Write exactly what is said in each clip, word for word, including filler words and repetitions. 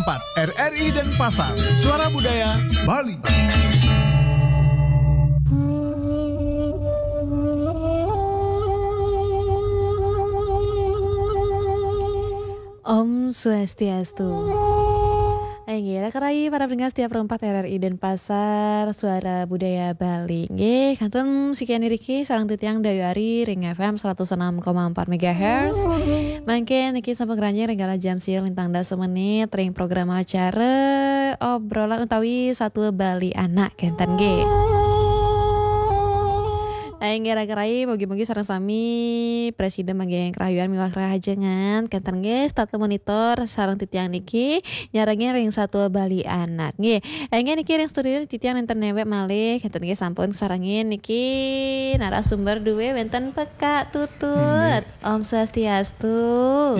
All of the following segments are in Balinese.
empat, R R I Denpasar, Suara Budaya Bali. Om Swastiastu. Inggih, raka rayi para pendengar setia Pro empat R R I Denpasar, Suara Budaya Bali. Nggih, kantun sekian niki sareng titiang Dayu Ari ring F M seratus enam koma empat megahertz. Mangkin niki sampun ngranjing ring galah jam siang lintang dasa menit ring program acara obrolan utawi satua Bali Anak kenten nggih. Inggih raka rayi, mugi-mugi sareng sami prasida manggihin karahayuan miwah karahajengan. Kenten nggih, setata monitor sareng titiang niki nyarengin ring satua Bali Anak. Nggih, inggih niki ring studio titiang nenten newek malih, kenten nggih sampun sarengin niki narasumber duwe wenten Pekak Tutut. Nggih. Om Swastiastu.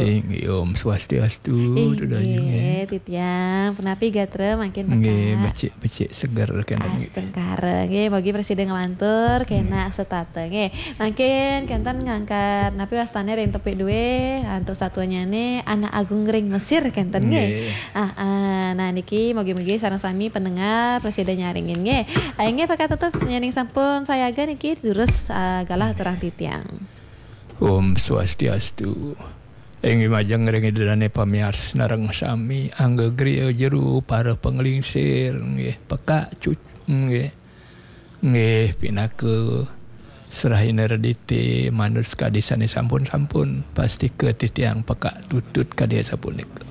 Inggih, Om Swastiastu, Dayu nggih. Inggih, titiang. Punapi gatra mangkin Pekak? Nggih, becik-becik seger kenten nggih. Astungkara. Nggih, mugi prasida nglantur kena setata nggih. Mangkin kenten ngangkat napi wastane ring tepik duwe antuk satuanyane Anak Agung ring Mesir kenten nggih. Nggih. Ah, ah, nah niki mugi-mugi sareng sami pendengar prasida nyarengin nggih. Ah, inggih Pekak Tutut, yening sampun sayaga niki durus, ah, galah aturang titiang. Om Swastiastu. Inggih majeng ring Ida dane pamiarsa sareng sami, angga griya jero para panglingsir nggih, Pekak Tut nggih. Nggih, pinaka serahina redite manut kadi sane sampun-sampun, pastika titiang Pekak Tutut kadi asapunika.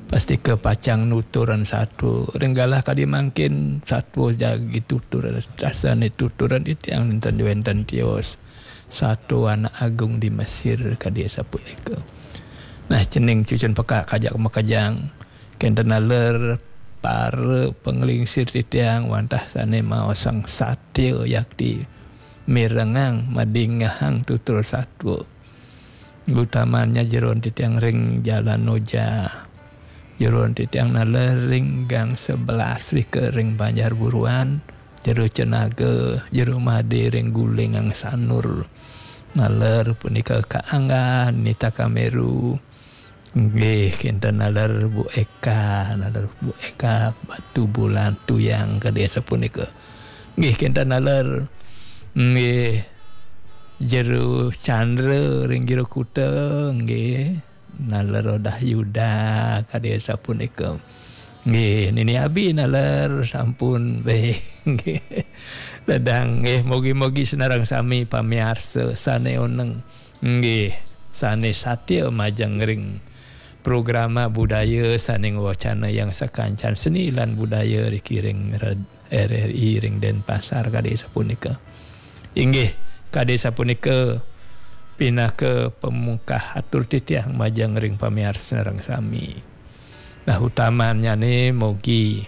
Pastika pacang nuturan satua. Ring galah kadi mangkin satua jagi tuturan dasane tuturan titiang nenten wenten tios. Satua Anak Agung di Mesir kadi asapunika. Nah, cening cucun Pekak kajak makejang, kenten taler para panglingsir titiang wantah sane maosang satya yakti mirengang madingehang tutur satua. Utamanya jeroan titiang ring Jalan Noja. Jeroan titiang taler ring Gang sebelas rika ring Banjar Buruan, Jero Cenaga, Jero Made ring Gulingan Sanur. Taler punika Kak Angga, Nita Kameru. Nggih, kenten taler Bu Eka, taler Bu Eka Batubulan Tuyang kadi asapunika. Nggih, kenten taler. Nggih, Jero Chandra ring Jero Kuta, nggih. Taler Odah Yuda kadi asapunika. Nggih, Nini Abi taler sampun. Nggih. Dadang nggih, mugi-mugi sareng sami pamiarsa sane oneng. Nggih, sane satia majeng ring programa budaya sane ngwacana yang sakancan seni lan budaya riki ring red-, R R I ring Denpasar kadi sapunika. Inggih, kadi sapunika pinaka pamungkah atur titiang majeng ring pamiarsa sareng sami. Nah, utamanyane mugi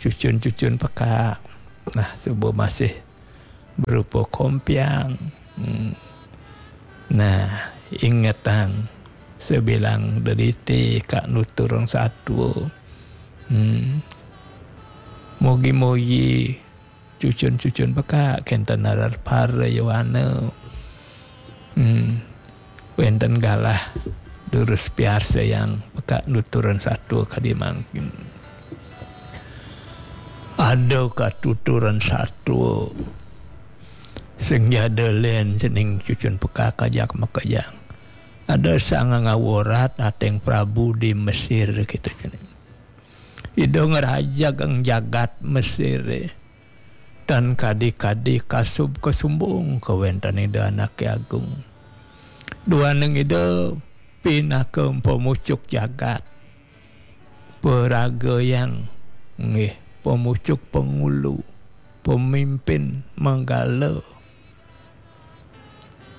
cucun-cucun Pekak, nah, suba masih berupa kompiang. Hmm. Nah, ingetang sabilang dedite kak nuturang satua. Hmm. Mugi-mugi cucun-cucun Pekak kenten taler para yowana. Hmm. Wenten galah durus piarsayang Pekak nuturan satua kadi mangkin. Ada katuturan satua sing jada len cening cucun Pekak kajak makejang. Ada Sang Ngawarat ateng Prabu di Mesir kita cening. Ida ngrajagang jagat Mesir, eh. Tan kadi-kadi kasub kasumbung kawenten Ida Anake Agung. Duaning Ida pinaka pamucuk jagat. Paragayang, nggih, pamucuk pangulu, pamimpin manggala.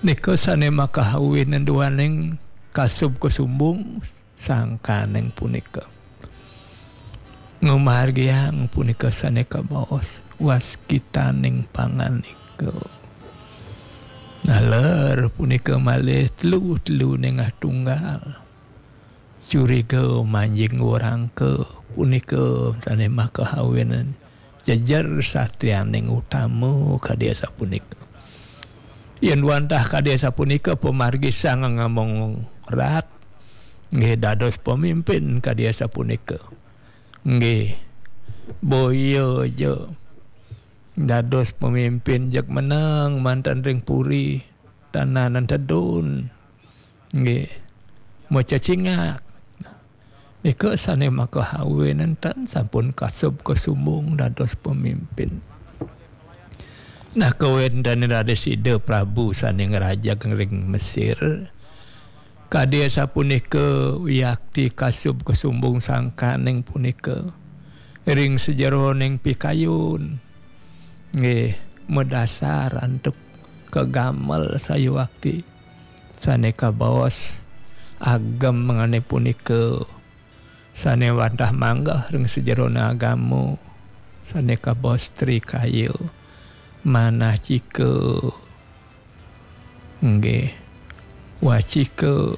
Nika sane makahawin duaning kasub kasumbung sangkaning punika. Ngamargiang punika sane kabaos waskitaning panganika. Naler punika malih telu-telu nengah tunggal. Curiga manjing warangka punika sane makahawin jejer satrianing utama kadi asapunika. Yen wantah kadi asapunika pamargi Sang Ngawarat, nggih dados pamimpin kadi asapunika. Nggih. Boya ja dados pemimpin jeg meneng manten ring puri, tananan tedun. Nggih. Macecingak. Nika sane makahawinan tan sampun kasub kasumbung dados pemimpin. Nah, kawenten raris Ida Prabu sane ngrajeg ring Mesir. Kadi asapunika wiakti kasub kasumbung sangkaning punika ring sajeroning pikayun. Nggih, madasar antuk kagamel sayuwakti sane kabaos agem ngane punika, sane wantah manggeh ring sajeroning agama, sane kabaos trikaya, manacika, nggih, wacika,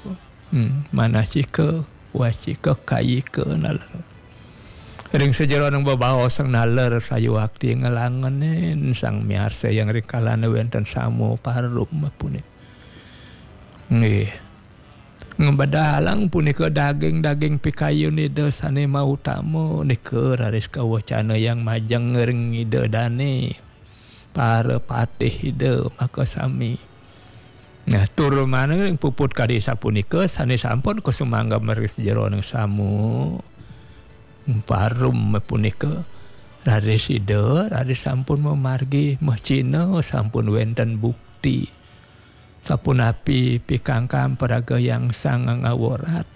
hmm, manacika, wacika, kayika, naler. Ring sajeroning bebaos sang naler sayuwakti nglangenin sang miarsa yang ring kalane wenten sama parum punika. Nggih. Ngebedalang punika daging-daging pikayun Ida sane mautama nika raris kawecana yang majeng ring Ida dane, para patih Ida makasami. Nah, tur manah ring puput kadi sapunika sane sampun kasumangga ring sajeroning sama parum punika, raris Ida raris sampun mamargi, mah cina sampun wenten bukti. Sapunapi pikangkam paraga yang sang ngaworat.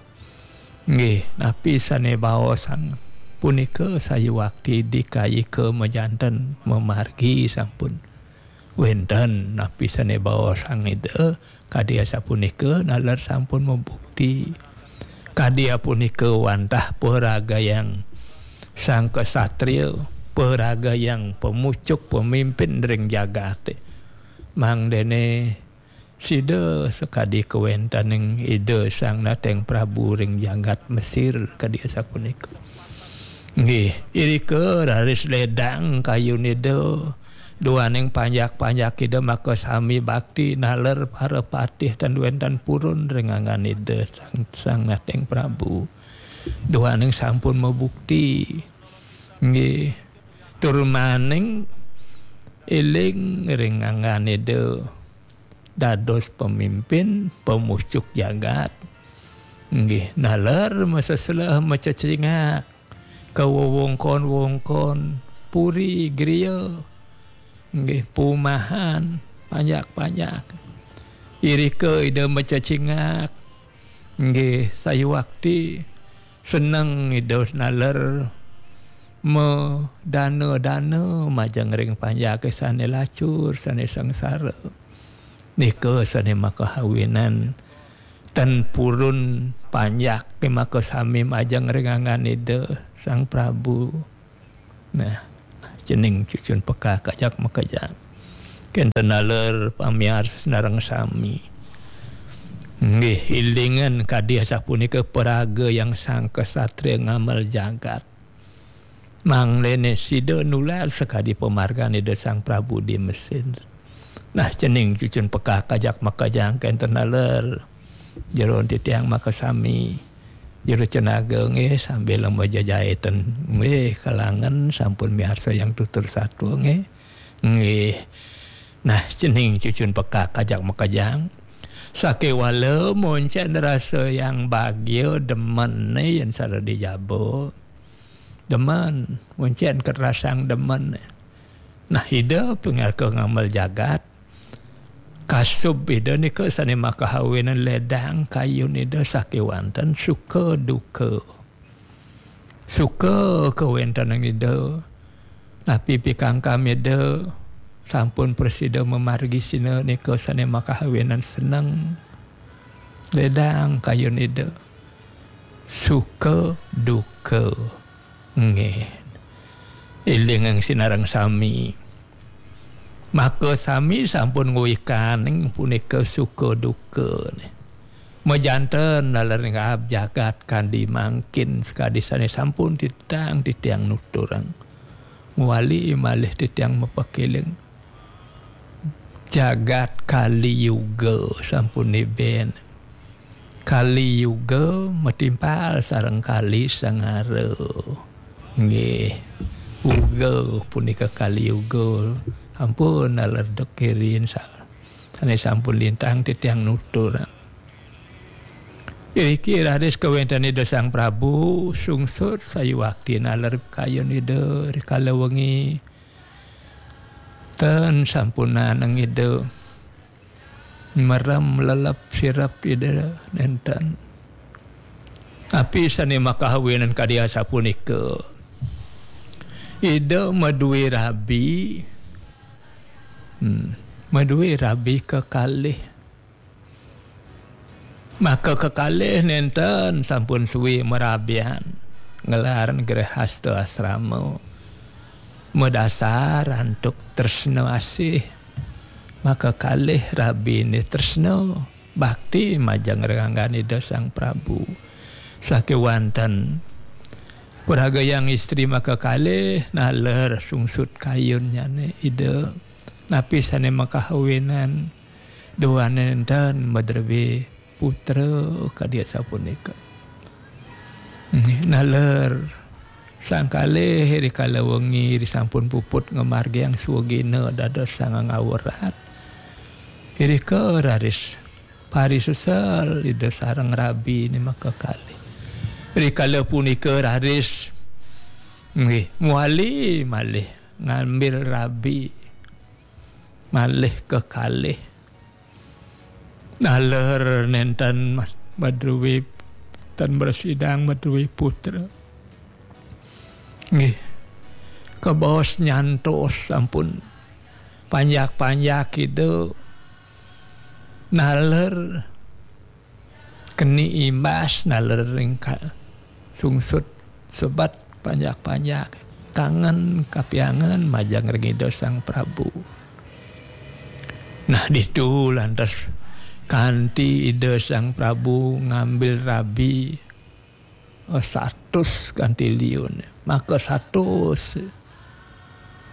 Nggih, napi sane baosang punika sayuwakti dikayika majanten mamargi sampun wenten, napi sane baosang Ida kadi asapunika naler sampun mabukti. Kadi apunika wantah paraga yang sang ksatria, paraga yang pamucuk pemimpin ring jagate. Mangdene sida sakadi kawentening Ida Sang Nateng Prabu ring jagat Mesir kadi asapunika. Nggih, irika raris ledang kayun Ida, duaning panjak-panjak Ida makasami bakti naler para patih tan wenten purun ring anggan Ida Sang, Sang Nateng Prabu. Duaning sampun mabukti. Nggih. Tur maning eling ring anggan Ida dados pemimpin, pemucuk jagat. Nggih, naler masesleh macecingak, kawewengkon-wengkon, puri, griya. Nggih, pumahan, panjak-panjak. Irika Ida macecingak. Nggih, sayuwakti seneng Ida naler madana-dana majeng ring panjake sane lacur, sane sangsara. Nika sane makahawinan ten purun panjake makasami majeng ring anggan Ida Sang Prabu. Nah, cening cucun pekak ajak makejang. Kenten naler pamiarsa sareng sami. Nggih, ilingan kadi asapunika paraga yang sang ksatria ngamel jagat. Mangdene sida nular sakadi pamargan Ida Sang Prabu di Mesir. Nah, cening cucun pekak ajak makejang kenten naler. Jero titiang makasami. Jero Cenaga nggih sambil majajaiten. Nggih, kalangen sampun miarsa yang tutur satua nggih. Nggih. Nah, cening cucun pekak ajak makejang. Sakewala moncen rasa yang bagia demen yen sada di jaba. Demen, moncen kerasang demen. Nah, Ida pinaka ngamel jagat. Kasub Ida nika sane makahawinan ledang kayun Ida sakewanten suka duka. Suka kawentenan Ida. Napi pikangkam Ida sampun prasida mamargi sina nika sane makahawinan seneng. Ledang kayun Ida. Suka duka. Nggih. Elingang sinareng sami. Maka sami sampun ngwikaning punika suka duka. Majanten naler ngab jagat kandi mangkin sakadi sane sampun titiang, titiang nuturang. Ngwali malih titiang mapakeling. Jagat Kali Yuga sampun neben. Kali Yuga matimpal sareng Kali Sangara. Nggih. Uga punika Kali Yuga. Ampun naler dek irin sa-, sane sampun lintang titiang nutur. Iriki raris kawenten Ida Sang Prabu sungsut sayuwakti naler kayun Ida rikala wengi. Ten sampunaneng Ida merem lelep sirep Ida nenten. Napi sane makahawinan kadi asapunika? Ida madue rabi. Hmm. Madue rabi kekalih. Maka kekalih nenten sampun suwi merabian. Ngelar grehasta asrama. Madasar antuk tresna asih. Maka kalih rabine tresna bakti majeng ring anggan Ida Sang Prabu. Sakewanten pragayang istri maka kalih naler sungsut kayunnyane Ida. Napi sane makahawinan? Duane nenten madrebe putra kadi asapunika. Nggih, naler sang kalih rikala wengi risampun puput ngamargiang swagina dados sangang awrat. Irika raris parisesel Ida sareng rabine maka kalih. Rikala punika raris nggih, muali malih ngambil rabi malih kekalih. Naler nenten ma-, madruwe, ten mrasidang madruwe putra. Nggih. Kabaos nyantos sampun panjak-panjak Ida naler keni imbas naler ring ka-, sungsut sebat panjak-panjak kangen kapiangen majeng ring Ida Sang Prabu. Nah, ditu lantas kanti Ida Sang Prabu ngambil rabi, eh, satus kanti liun. Maka satus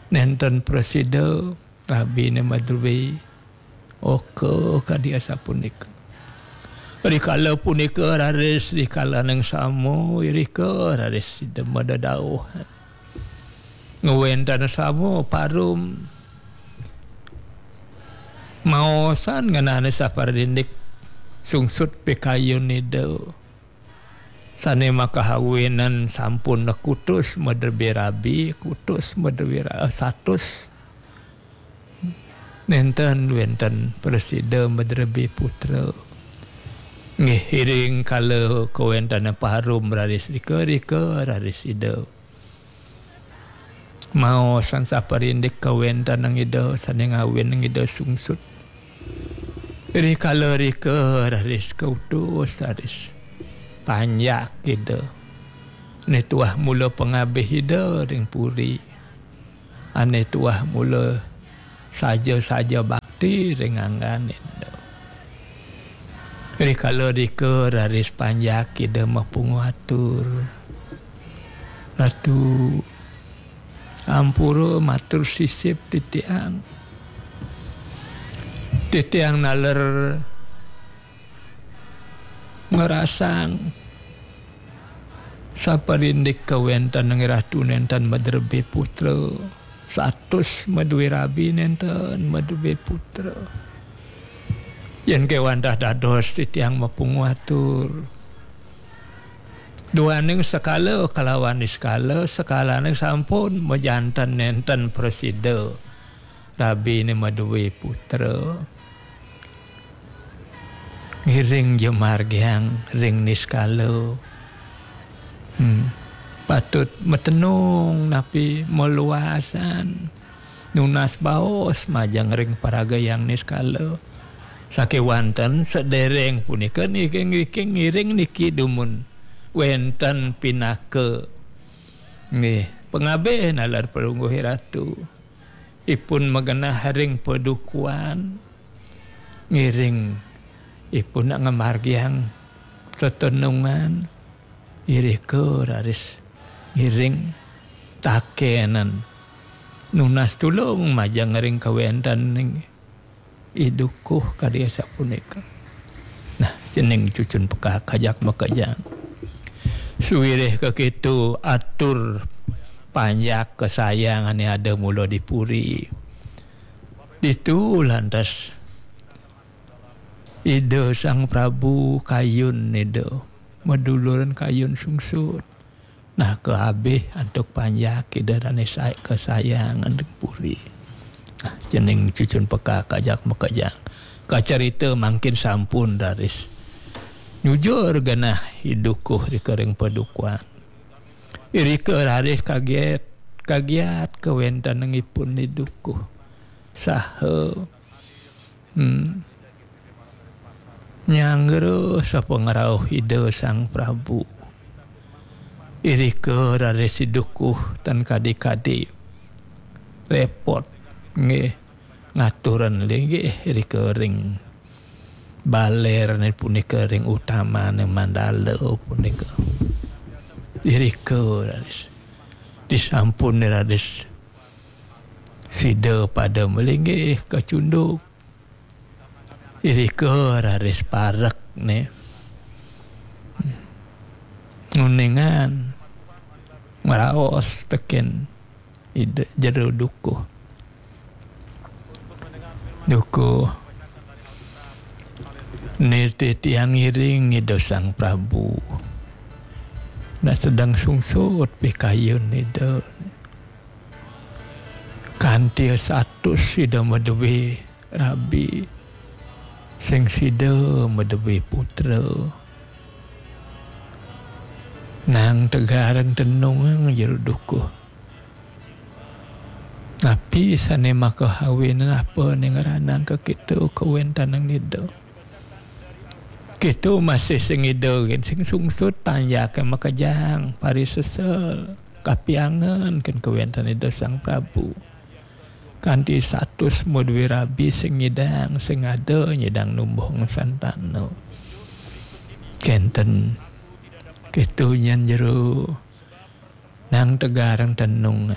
nenten prasida rabine madruwe. Oka kadi asapunika. Rikala punika raris rikalaning sama irika raris Ida madadauhan. Ngwenten sama parum maosan ngenane saparindik sungsut pikayun Ida. Sane makahawinan sampun kutus madrebe rabi, kutus madrebe ra-, satus. Nenten wenten prasida madrebe putra. Nggih, iring kala kawentane parum raris rika, rika raris Ida maosan saparindik kawentenang Ida sane ngawinang Ida sungsut. Rikala rika raris kautus raris panjak Ida. Ane tuah mula pangabih Ida ring puri. Ane tuah mula saja-saja bakti ring anggan Ida. Rikala rika raris panjak Ida mapungu atur. Ratu, ampura matur sisip titiang. Titiang naler ngrasang saparindik kawentenang Ratu nenten madrebe putra. Satus madue rabi nenten madue putra. Yen kewantah dados titiang mapungu atur. Duaning sekala kalawan niskala, sekalaning sampun majanten nenten prasida. Rabine madue putra. Ngiring ja margiang ring niskala. Hmm. Patut matenung napi maluasan. Nunas baos majeng ring paragayang niskala. Sakewanten sedereng punika niki, niki ngiring niki dumun wenten pinaka. Nggih, pangabih nalar Palungguh Ratu. Ipun magenah ring padukuan, ngiring ipun nak ngamargiang tetenungan, irika raris ngiring takenan. Nunas tulung majeng ring kawentening I Dukuh kadi asapunika. Nah, cening cucun pekak ajak makejang. Suwirih kakitu atur panjak kesayangan ada mula di puri. Ditu lantas Ida Sang Prabu kayun Ida, maduluran kayun sungsut. Nah, kaabih antuk panjak Ida dane sa-, kesayangan di puri. Nah, cening cucun pekak kajak makejang. Kacarita mangkin sampun raris nyujur genah I Dukuh rika ring padukuhan. Irika raris kaget, kagiat kawentenangipun I Dukuh. Saha, hmm, nyanggra sapangrauh Ida Sang Prabu. Irika raris I Dukuh tan kadi-kadi repot nggih ngaturan linggih irika ring balerane punika, ring utamane mandala punika. Irika raris disampun raris sida pada malinggih kacunduk. Irika raris parek ne nguningan maraos teken Ida Jero Dukuh. Dukuh, nitih tiang ngiring Ida Sang Prabu. Nah, sedeng sungsut pikayun Ida. Kanti satus sida madue rabi, sing sida madue putra. Nang tegareng tenung Jero Dukuh. Napi sane makahawinan apa ning ranang ka kita kawentenang Ida? Kita masih sing Ida gin sing sungsut panjake makejang parisesel kapiangan ken kawenten Ida Sang Prabu. Kanti satus madue rabi sing nyidang, sing ada nyidang numbuh santana. Kenten kita nyen Jero nang tegareng tenung.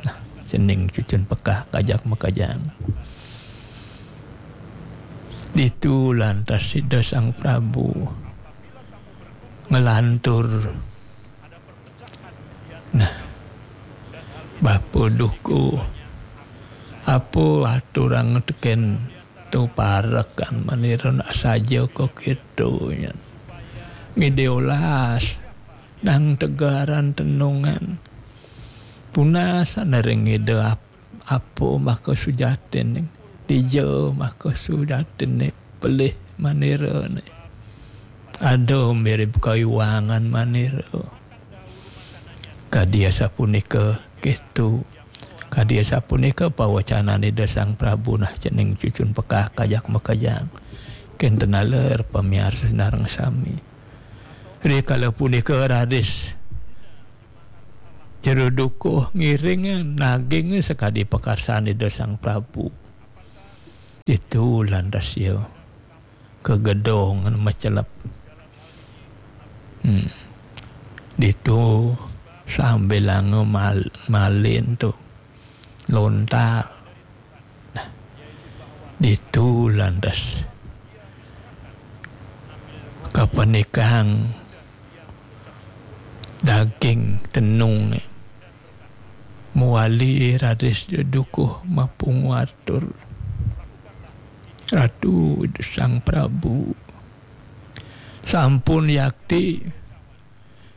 Nah, cening cucun pekak kajak makejang. Ditu lantas Ida Sang Prabu nglantur. Nah, Bapa Dukuh, apa aturang teken tu parekan manira nak saja ka kita nyen. Ngide olas nang tegaran tenungan. Tunas ring Ida ap-, apa maka sujatine, dija maka sujatine, pelih manirane. Ada mirip kayuangan manira. Kadi asapunika kitu. Kadi asapunika pawacanan Ida Sang Prabu nah cening cucun pekak kajak makejang. Kenten aler pamiarsa sinareng sami. Rikala punika raris Jero Dukuh ngiring naging sakadi pakarsan Ida Sang Prabu. Ditu lantas ia kagedong macelep. Hmm. Ditu sambilanga mal-, malin tu lontar. Nah, ditu lantas kapanikang daging tenung. Muali raris Dukuh mapungu atur. Ratu Sang Prabu, sampun yakti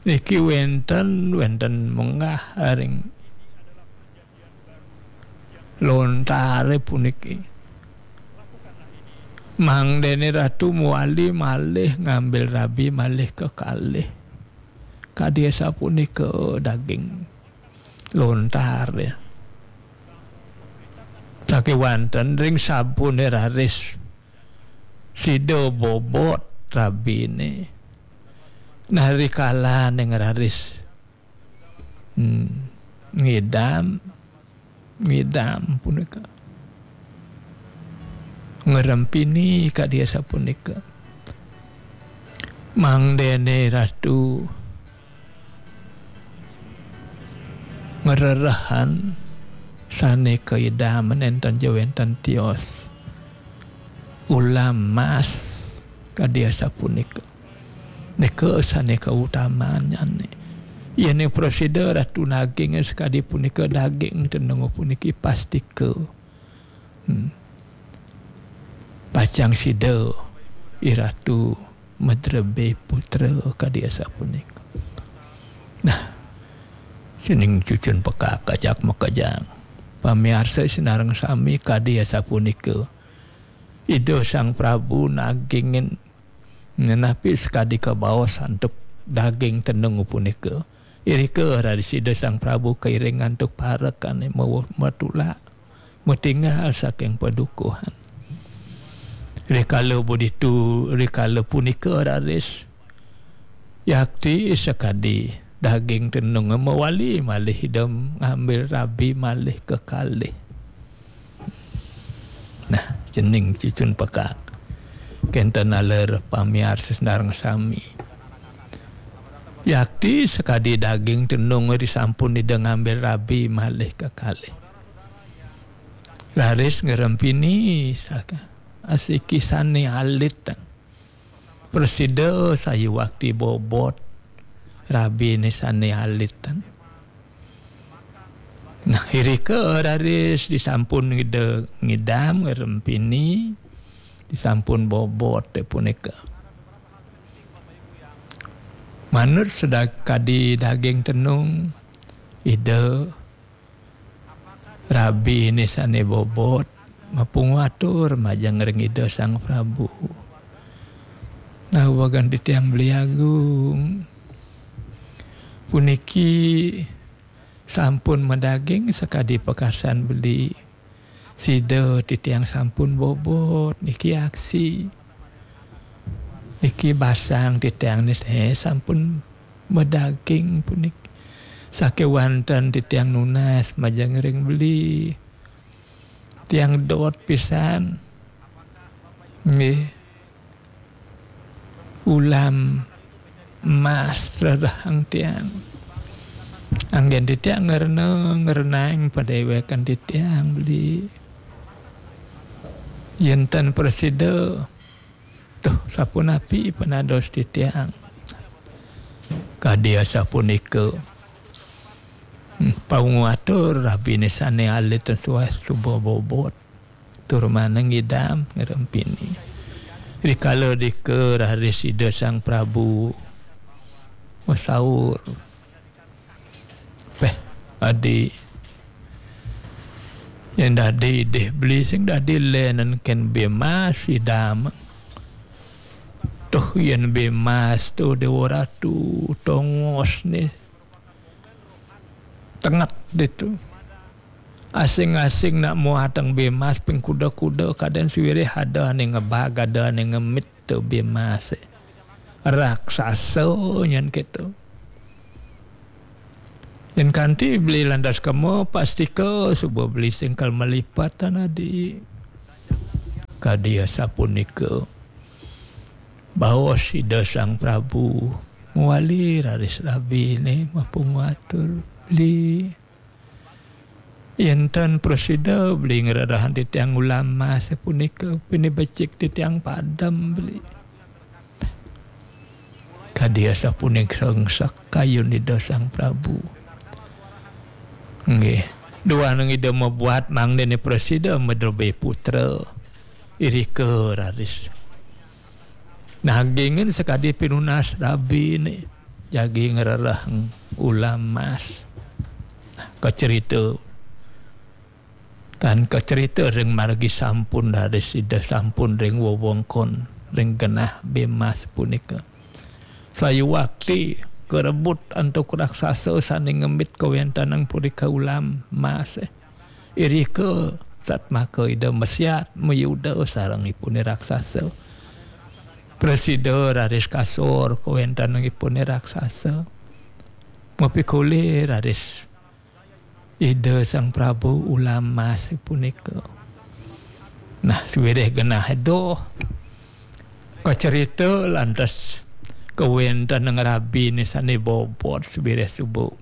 niki wenten, wenten menggah ring lontare puniki. Mangdene Ratu muali malih ngambil rabi malih kekalih. Kadi asapunika daging lontare. Sakewanten ring sabune raris sida bobot rabine. Nah, rikalaning raris, hmm, ngidam, ngidam punika. Ngrempini kadi asapunika. Mangdene Ratu ngrerehan sane kaidam nenten ja wenten tios. Ulam mas kadi asapunika. Nika sane kautamannyane. Yén prasida Ratu naging sakadi punika, daging tenung puniki pastika. Hmm. Pacang sida I Ratu madrebé putra kadi asapunika. Nah, sining cucun pekak ajak makejang. Pamiarsa sinareng sami kadi asapunika. Ida Sang Prabu nagingin nenapi sakadi kabaos antuk daging tenung punika. Irika raris Ida Sang Prabu kairing antuk parekane mawa-, matulak, matinggal saking padukuhan. Rikala buditu, rikala punika raris yakti sakadi daging tenung mawali malih Ida ngambil rabi malih kekalih. Nah, cening cucun pekak. Kenten taler pamiarsa sinareng sami. Yakti sakadi daging tenung risampun Ida ngambil rabi malih kekalih. Raris ngrempini saka asiki sane alit. Prasida sayuwakti bobot rabine sane alit. Nah, irika raris disampun Ida ngidam ngrempini, disampun bobot punika. Manut sakadi daging tenung, Ida rabine sane bobot mapungu atur majeng ring Ida Sang Prabu. Nah, wagan titiang Beli Agung. Puniki sampun madaging sakadi pakarsan beli. Sida titiang sampun bobot niki aksi. Niki basang titiang niki, eh, sampun madaging puniki. Sakewanten titiang nunas majeng ring beli. Tiang dot pisan. Nggih. Ulam emas rerehang tiang. Anggen titiang ngrena, ngrenaing padewekan titiang beli. Yen ten prasida, tuh, sapunapi panados titiang. Kadi asapunika. Hmm, paungu atur rabine sane alit suah suba bobot. Tur manah ngidam ngrempini. Rikala dika raris Ida Sang Prabu masaur. Peh, adi. Yen dadi idih beli sing dadi lenen ken bemas idam. Tuh yen bemas tuh Dewa Ratu tongos nih. Tenget ditu. Asing-asing nak muatang bemas ping kuda-kuda kaden siwirih ada ane ngebag, ada ane ngemit tu bemas. Raksasa nyen keto. Yen kanti beli lantas kema pastika suba beli singkal malipatan adi. Kadi asapunika. Baos Ida Sang Prabu mawali raris rabine mapungu atur beli. Yen ten prasida beli ngrerehang titiang ulam mas punika, pinibecik titiang padem beli. Kadi asapunika sengsek kayun Ida Sang Prabu. Nggih. Duaning Ida mabuat mangdene prasida madrebé putra. Irika raris. Nagingin sakadi pinunas rabine jagi ngrereh ulam mas. Kacerita. Tan kacerita ring margi sampun raris Ida sampun ring wewengkon, ring genah bemas punika. Sayuwakti karebut antuk raksasa sane ngemit kawentenang punika ulam mas. Irika satmaka Ida mesiat mayuda sareng ipune raksasa. Prasida raris kasor kawentenang ipune raksasa. Mapikolih raris Ida Sang Prabu ulam mas punika. Nah, sawireh genah doh kacerita lantas kawentenang rabine sane bobot sawireh suba.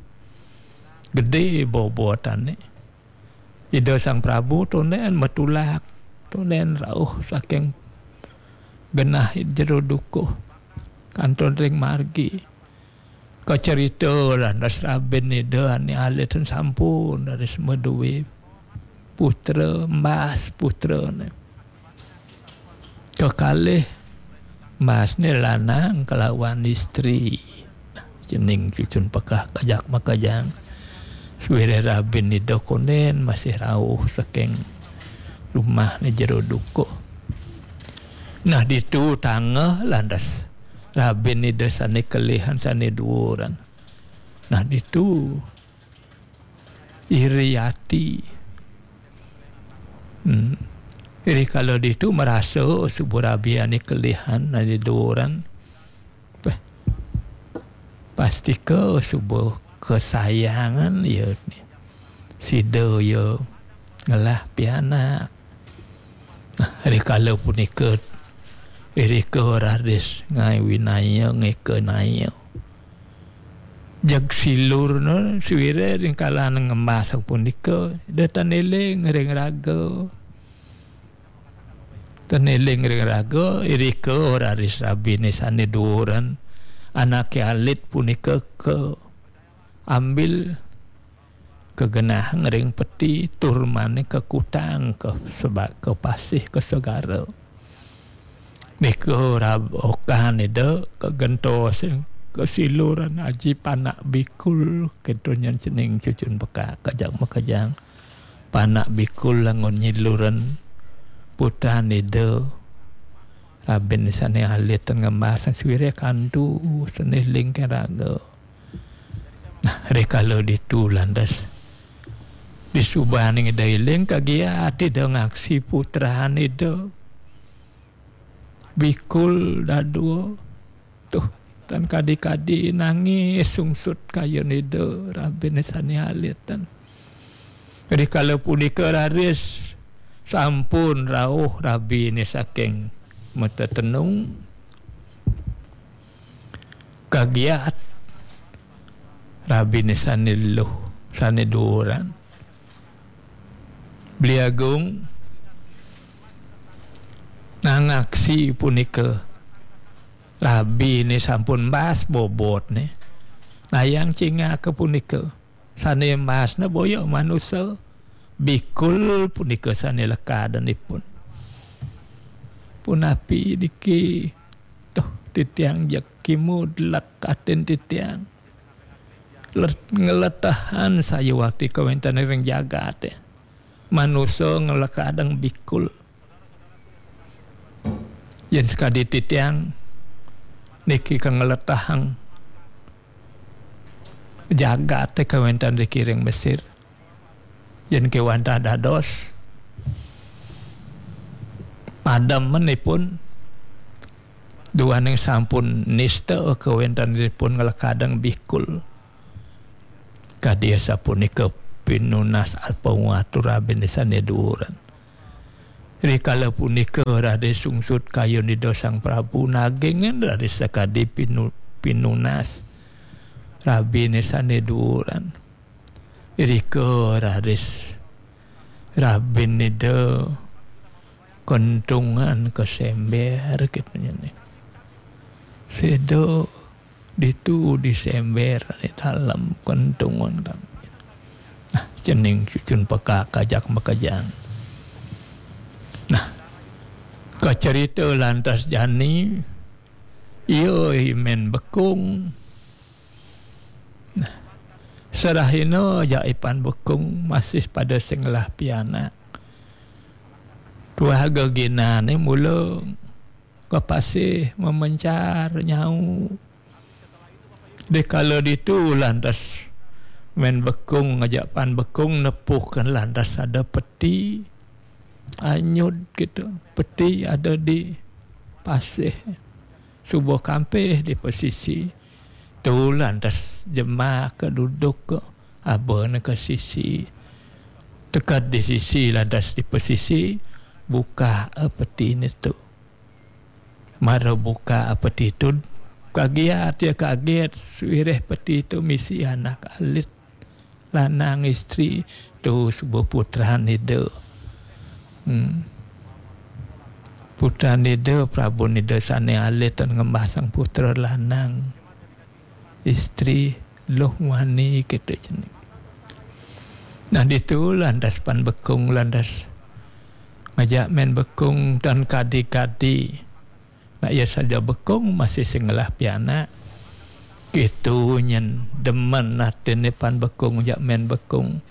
Gede bobotane. Ida Sang Prabu tonden matulak, tonden rauh saking genah jero dukuh kantun ring margi. Kacerita lantas rabin ida ané alit ten sampun raris madué putra, embas putrané. Kekalih embasné lanang kelawan istri. Cening cucun pekak kajak makejang. Sawiréh rabin ida kondén masih rauh saking rumahné jero dukuh. Nah, ditu tangeh lantas rabin ida sané kelihan sané duuran. Nah, ditu iri ati. Hmm. Iri kala ditu marasa suba rabi ané kelihan ané duuran. Peh. Pastika suba kasayangan ya sida ya ngelah pianak. Nah, rikala punika irika raris ngawinaya ngekanaya. Jeg silurna sawiréh ring kalané ngembas punika, ida tan éling ring raga. Tan éling ring raga, irika raris rabiné sané duuran, anaké alit punika kaambil kagenahang ring peti tur mani kakutang ka seba-, ka pasih ka segara. Nika rab-, okan ida kagentosin kasiluran aji panak bikul, kéto nyen cening cucun pekak kajak makejang. Panak bikul langun nyiluran putran ida. Rabin sané alit ngembas sawiréh kantu sané éling ring raga. Nah, rikala ditu lantas disubaning ida éling kagiat ida ngaksi putran ida. Bikul dadua. Tuh, tan kadi-kadi nangis sungsut kayun ida rabiné sané alit ten. Rikala punika raris sampun rauh rabiné saking matetenung. Kagiat rabiné sané luh, sané duuran. Beli Agung nangaksi punika rabiné sampun embas bobotné. Nayang cingaka punika. Sané embasné boya manusa, bikul punika sané lekadang ipun. Punapi niki, tuh, titiang jeg kimud lek atin titiang. Let-, ngletehan sayuwakti kawéntenan ring jagaté. Manusa nglekadang bikul. Yén sakadi titiang niki kangletahang jagaté kawéntenan ring Mesir. Yén kéwanten dados pademenipun duaning sampun nista kawéntenanipun nglekadang bikul. Kadi asapunika pinunas apawatur rabiné sané duuran. Rikala punika raris sungsut kayun Ida Sang Prabu nagingin raris sakadi pinu-, pinunas rabiné sané duuran. Irika raris rabin Ida kentungan ka sémbér kéto nyen. Sida ditu di sémbér, di dalem kentungan. Nah, cening cucun pekak kajak makejang. Nah, kacerita lantas jani, ia I Mén Bekung. Nah, serahina jak I Pan Bekung masih pada sing ngelah pianak. Tuah geginané mula ka pasih mamencar nyau. Dikala ditu lantas Mén Bekung ngajak Pan Bekung nepuhkan lantas ada peti anyud kéto. Peti ada di pasih. Suba kampih di pasisi. Tu lantas jemaka duduk abana ka sisi. Tekad di sisi lantas di pasisi, buka petiné tu. Mara buka peti tu, kagiat ia kaget, sawireh peti tu misi anak alit, lanang istri, tu suba putran Ida. Hmm. Putran Ida, Prabun Ida sané alit tan ngembasang putra lanang. istri, luh wani, kitu cening. Nah, ditu lantas Pan Bekung lantas ngajak Men Bekung tan kadi-kadi. Nah, iya saja Bekung masih sing ngelah pianak. Kitu nyen demen atine Pan Bekung jak Men Bekung.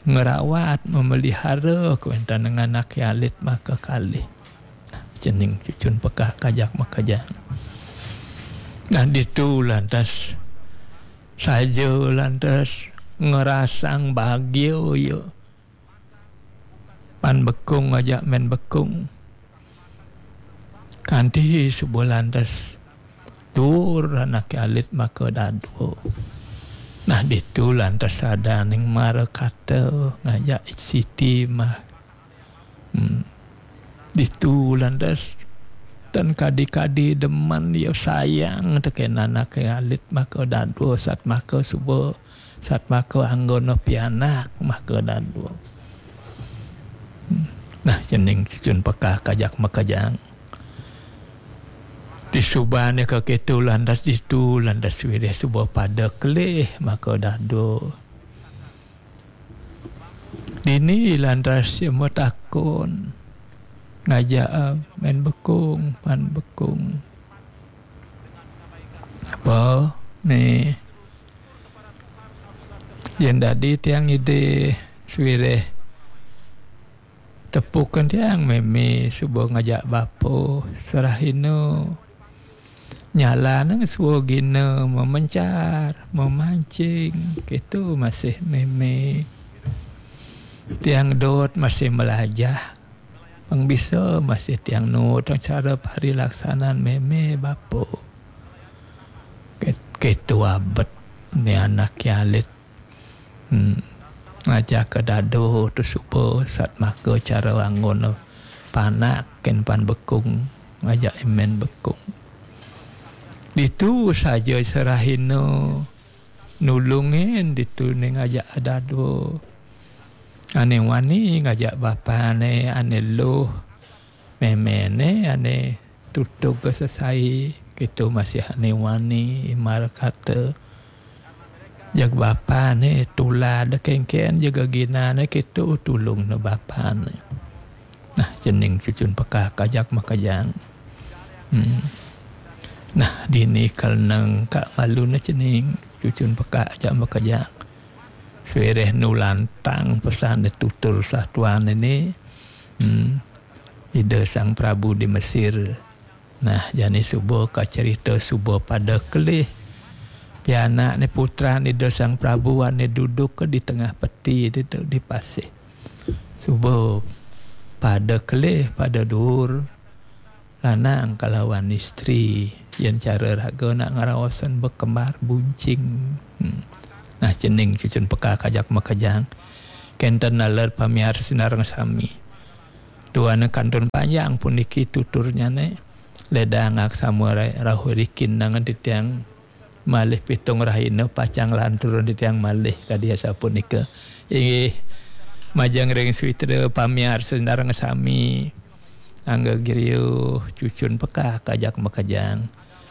Ngerawat, memelihara kewenten dengan anak alit maka kalih. Nah, cening cucun pekak kajak makejang. Nah, ditu lantas saja lantas ngerasang bahagia ya. Pan Bekung ajak Men Bekung. Kanti subuh lantas tur anak alit maka dadua. Nah, ditu lantas ada ning mara kata ngajak Siti mah. Hmm. Ditu lantas tan kadi-kadi demen ya sayang teken anak alit maka dadua sat maka suba sat maka anggona pianak maka dadua. Hmm. Nah, cening cucun pekak kajak makejang. Disubane ka kitu lantas ditu lantas wirih suba pada kelih maka dadua. Dini lantas ia matakon ngajak Men Bekung, Pan Bekung. Apa ni yen dadi tiang ngidih suwireh tepukan tiang meme suba ngajak bapa serahina nyalana suwa gina memencar, memancing, kitu masih meme. Tiang dot masih melajah. Pang bisa masih tiang nuut cara parilaksanan meme bapa. Kitu abet ni anak alit. Hmm. Ngajak ke dado tu suba sat maka cara anggon panak ken Pan Bekung ngajak Men Bekung. Ditu saja serahina nulungin ditu ni ngajak dado. Ane wani ngajak bapane ane luh memene ane tutug sesai kitu masih ane wani imar kata. Jag bapane tulad kengken jaga ginane kitu tulung ne bapane. Nah, cening cucun pekak kajak makejang. Hmm. Nah, dini kal neng kak malu ne cening cucun pekak ajak makejang. Suwireh nulantang pesan de tutur satuan ini. Hmm. Ida Sang Prabu di Mesir. Nah, jani suba ka cerita suba pada kelih. Pianak ni putran Ida Sang Prabu ane duduk ke di tengah peti di, di pasih. Suba pada kelih, pada duur. Lanang kalawan istri. Yen cara raga nak ngeraosan bekembar buncing. Hmm. Nah, cening cucun pekak kajak makejang. Kenten naler pamiar sinareng sami. Duane kantun panjang puniki tuturnyane. Ledang aksama ra-, rauh rikin nangan titiang malih pitung rahina pacang lantur titiang malih kadi asapunika. Inggih, majeng ring switra pamiarsa sareng sami. Angga griya cucun pekak kajak makejang.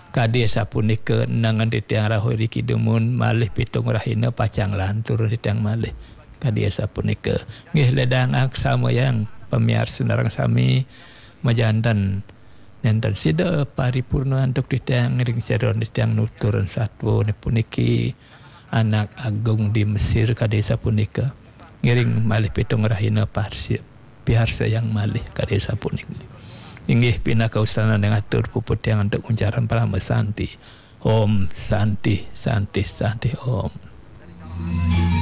Kadi asapunika nangan titiang rauh riki dumun malih pitung rahina pacang lantur titiang malih. Kadi asapunika. Nggih ledang aksamayang pamiarsa sareng sami majanten nenten sida paripurna antuk titiang ring seron titiang nuturan satwa puniki anak agung di Mesir kadi sapunika. Ngiring malih pitung rahina parsi-, piarsayang malih kadi sapunika. Inggih pinaka usanan yang atur puput tiang antuk uncaran parama santi. Om Santi, Santi, Santi, Om.